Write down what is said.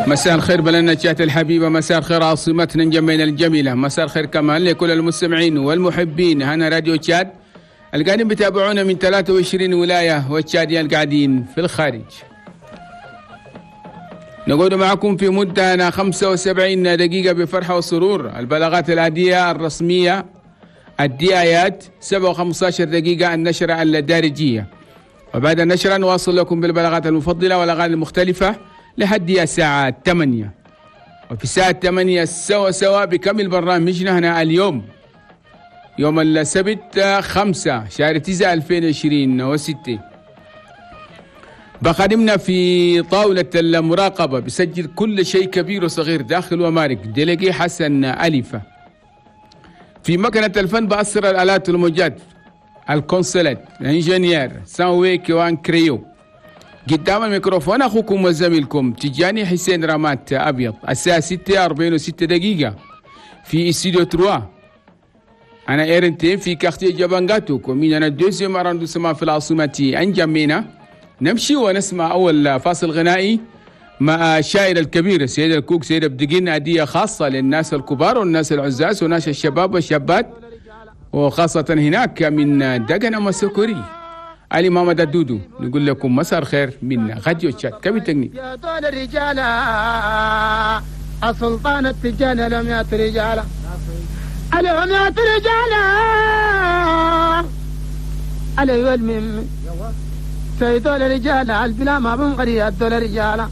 مساء الخير بلدنا تشاد الحبيبة، مساء الخير عاصمتنا انجمينا الجميلة، مساء الخير كمان لكل المستمعين والمحبين هنا راديو تشاد القاعدين بيتابعونا من 23 ولاية والتشاديين القاعدين في الخارج. نقعد معكم في مدة 75 دقيقة بفرحة وسرور. البلاغات العادية الرسمية الدعايات 7:15 دقيقة، النشرة الدارجية، وبعد النشرة نواصل لكم بالبلاغات المفضلة والأغاني المختلفة لحد الساعة 8. وفي الساعة 8 سوا سوا بكمل برنامجنا هنا اليوم يوم السبت 5 شهر 9 2026. بخدمنا في طاولة المراقبة بسجل كل شيء كبير وصغير داخل ومارك délégué حسن أليفة. في مكنة الفن بأسر الآلات والموجات الكونسولات ال ingénieur ساوي كوان كريو. قدام الميكروفون أخوكم وزميلكم تجاني حسين رامات أبيض. الساعة 6:46 في استوديو 3 أنا إيرنتين في quartier جبانغاتو commune أنا deuxième arrondissement في العاصمة أنجمينا. نمشي ونسمع أول فاصل غنائي مع الشاعر الكبير السيد الكوك سيد بدقين، هدية خاصة للناس الكبار والناس العزاز وناس الشباب والشابات، وخاصة هناك من دقن مسكوري علي محمد الدودو. نقول لكم مساء الخير من راديو تشاد. كيف تغني؟ يا دول الرجال السلطان التجاني لهم يا رجال لهم يا رجال علي والمم سيدول الرجال البلا ما بنغري الدول الرجال.